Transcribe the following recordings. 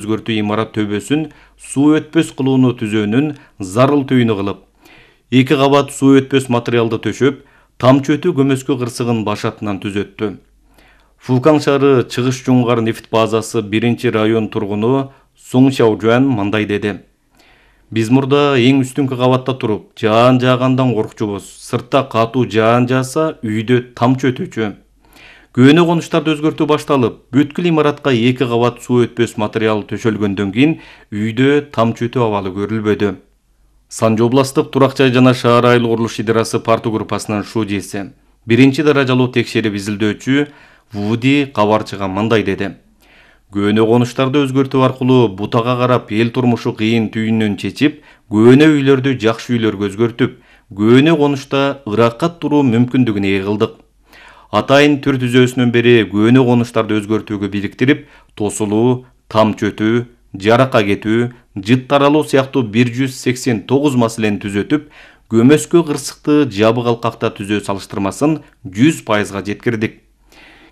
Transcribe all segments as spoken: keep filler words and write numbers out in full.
өзгөртүү имарат төбөсүн суу өтпөс кылууну түзөөнүн зарыл түйүнү кылып, эки кабат суу өтпөс материалды төшөп, тамчы өтүү көмөскө кырсыгын башатынан түзөттү. Фукан шаары Чыгыш Жуңгар нефт базасы биринчи район тургуну Суң Шаожуан мындай деди. Биз мурда эң үстүнкү кабатта туруп, жаан жаагандан коркчубуз. Сыртта катуу жаан жааса, үйдө тамчы өтүүчү. Көөнө конуштарды өзгөртүү башталып, бүткүл имаратка эки кабат суу өтпөс материал төшөлгөндөн кийин үйдө тамчы өтүү абалы көрүлбөдү. Санжы областык турак жай жана шаар айыл курулуш идарасы парту группасынын шужеси, биринчи даражалуу текшерип изилдөөчү Вуди кабарчыга мындай деди. Көөнө конуштарды өзгөртүү аркылуу бутага карап эл турмушу кыйын түйүнөн чечип, көөнө үйлөрдү жакшы үйлөргө өзгөртүп, көөнө конушта ыракат туруу мүмкүндүгүн ээ кылдык. Атайын түр түзөөсүнөн бери көөнө конуштарды өзгөртүүгө бириктирип, тосулуу, тамчы өтүү, жаракка кетүү, жыт таралуу сыяктуу бир жүз сексен тогуз маселени түзөтүп, көмөскө кырсыкты жабык алкакта түзөө салыштырмасын жүз пайызга жеткирдик.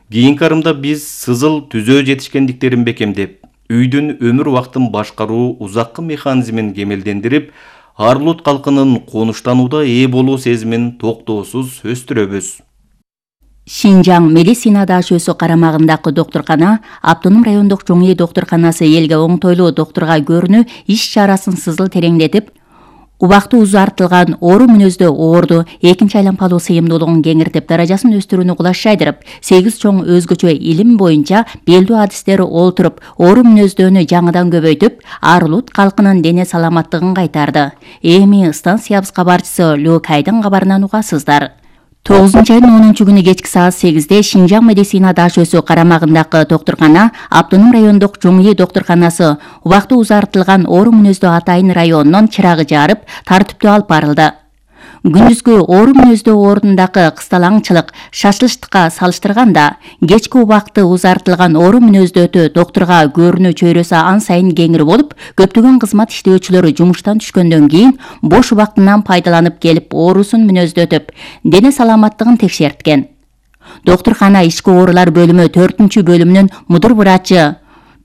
Кийинки арымда биз сызыл түзөө жетишкендиктерин бекемдеп, үйдүн өмүр убактын башкаруу узаккы механизмин кемелдендирип, Арлут калкынын конуштанууда ээ болуу сезимин токтоосуз өстүрөбүз. Шинжаң медицина даашөсү карамагындагы доктуркана Автоном райондук чоң үй доктурканасы элге оңтойлуу доктурга көрүнүү иш чарасын сызыл тереңдетип, убакты узартылган оору мүнөздө оорду экинчи айланпалуу сыйымдуулугун кеңиртип, даражасын өстүрүүнү кулаш жайдырып, сегиз чоң өзгөчө илим боюнча белдүү адистери олтуруп, оору мүнөздөнү жаңыдан көбөйтүп, Арлут калкынын дене саламаттыгын кайтарды. Эми станциябыз кабарчысы Лёкайдын кабарынан угасыздар. тогузунчу айдын онунчу күнү кечки саат сегизде Шинжаң медицина даашөсү карамагындагы доктуркана Автоном райондук чоң үй доктурканасы убакты узартылган оору мүнөздүү Атайын районунун чырагы жарып, тартиптүү алып барылды. Күндүзгү оору мүнөздүү ордундагы кысталаңчылык шашылыштыкка салыштырганда, кечки убакты узартылган оору мүнөздөө доктурга көрүнүү чөйрөсү ан сайын кеңири болуп, көптөгөн кызмат иштөөчүлөр жумуштан түшкөндөн кийин бош убактынан пайдаланып келип оорусун мүнөздөтүп, дене саламаттыгын текшерткен. Доктуркана ички оорулар бөлүмү төртүнчү бөлүмүнүн мудур врачы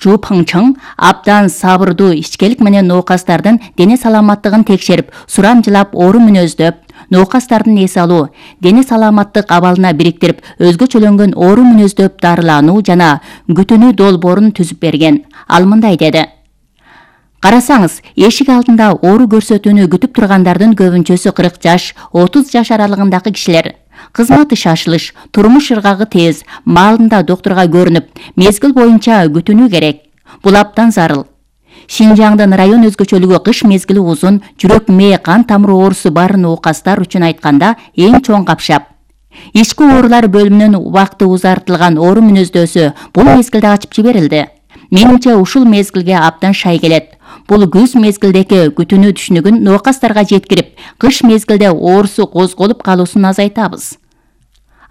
Чу Пыңчың абдан сабырдуу ичкелик менен ноокастардын дене саламаттыгын текшерип, сурамжылап оору мүнөздөп, ноокастардын эс алуу, дене саламаттык абалына бириктирип, өзгөчөлөнгөн оору мүнөздөп дарылануу жана күтүнүү долбоорун түзүп берген. Ал мындай деди. Карасаңыз, эшик алдында оору көрсөтүүнү күтүп тургандардын көбүнчөсү кырк жаш, отуз жаш аралыгындагы кишилер. Кызматы шашылыш, турмуш ыргагы тез, маалында доктурга көрүнүп, мезгил боюнча күтүнүү керек. Бул абдан зарыл. Шинжаңдын район өзгөчөлүгү кыш мезгили узун, жүрөк мээ кан тамыры оорусу бар ноокастар үчүн айтканда эң чоң капшап. Ички оорулар бөлүмүнүн убакты узартылган оору мүнөздөсү бул мезгилде ачып жиберилди. Менимче ушул мезгилге абдан шай келет. Бул күз мезгилдеги күтүнүү түшүнүгүн ноокастарга жеткирип, кыш мезгилде оорусу козголуп калуусун азайтабыз.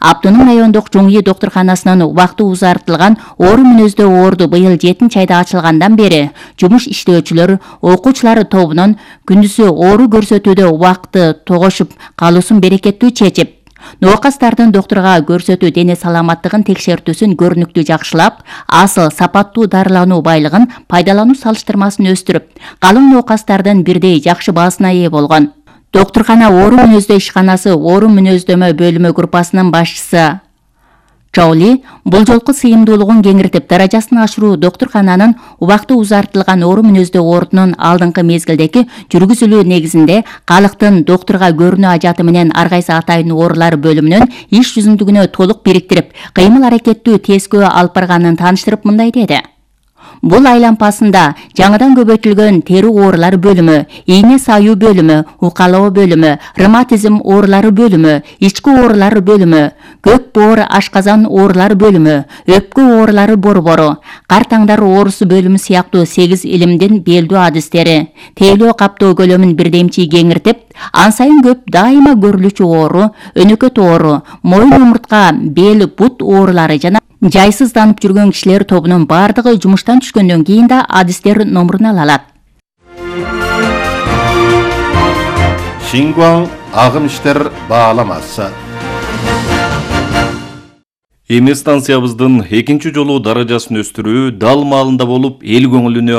Автоном райондук чоң үй доктурканасынын убакты узартылган оору мүнөздөө оорду быйыл жетинчи айда ачылгандан бери жумуш иштөөчүлөр, окуучулар тобунун күндүзү оору көрсөтүүдө убакты тогошуп калуусун берекеттүү чечип, ноокастардын доктурга көрсөтүү дене саламаттыгын текшертүүсүн көрүнүктүү жакшылап, асыл сапаттуу дарылануу байлыгын пайдалануу салыштырмасын өстүрүп, калың ноокастардын бирдей жакшы баасына ээ болгон. Доктуркана оору мүнөздөө ишканасы оору мүнөздөмө бөлүмү группасынын башчысы Чаули бул жолку сыйымдуулугун кеңиртип, даражасын ашыруу доктуркананын убакты узартылган оору мүнөздөө ордунун алдыңкы мезгилдеги жүргүзүлүү негизинде калктын доктурга көрүнүү ажаты менен ар кайсы атайын оорулар бөлүмүнүн иш жүзүндүгүнө толук бириктирип, кыймыл аракеттүү тескөө алып барганын тааныштырып мындай деди. Бул айланпасында жаңыдан көбөйтүлгөн тери оорулар бөлүмү, ийне саюу бөлүмү, укалоо бөлүмү, ревматизм оорулары бөлүмү, ички оорулар бөлүмү, көк боор ашказан оорулар бөлүмү, өпкө оорулары борбору, кар таңдар оорусу бөлүмү сыяктуу сегиз илимдин белдүү адистери, тейлөө каптоо көлөмүн бирдемчи кеңиртип, ан сайын көп дайыма көрүлүүчү оору, өнөкөт оору, моюн умуртка, бел, бут оорулары жана жайсызданып жүргөн кишилер тобунун бардыгы жумуштан түшкөндөн кийин да адистер номурун ала алат. Шингуаң агым иштер бааламасы. Эми станциябыздын экинчи жолу даражасын өстүрүү дал маалында болуп, эл көңүлүнө